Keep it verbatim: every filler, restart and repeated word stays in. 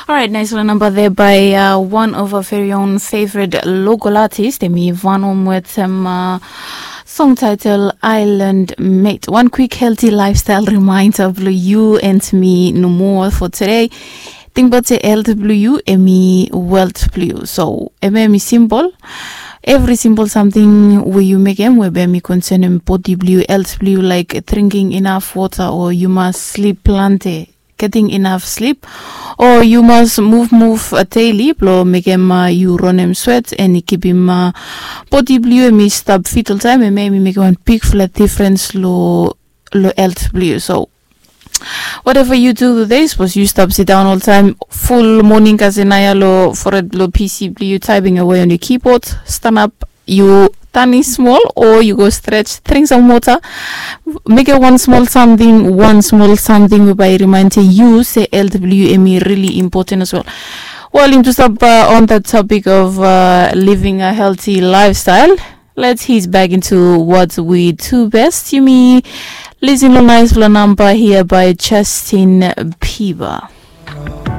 Alright, nice one number there by uh, one of our very own favorite local artists. Emi Vano Mwetem uh, song title Island Mate. One quick healthy lifestyle reminder blue you and me no more for today. Think about the health blue you, emi wealth blue you. So, emi emi simple. Every simple something where you make em, where be me concern em body blue, health blue, like drinking enough water or you must sleep plenty. Getting enough sleep or you must move move uh, daily blo mekem uh, you ronem sweat and kipim uh, body blue emi stap fit oltaim emi emi mekem wan big flat difference lo lo health blue. So whatever you do today, suppose you stop sit down all time full morning kasenaya lo forehead lo pc blue typing away on your keyboard, stand up, you tani small or you go stretch, drink some water, make it one small something, one small something whereby remind you say health blue emi really important as well. Well, im just up uh, on the topic of uh, living a healthy lifestyle. Let's head back into what we do best. You me listen to nice number here by Justin Bieber.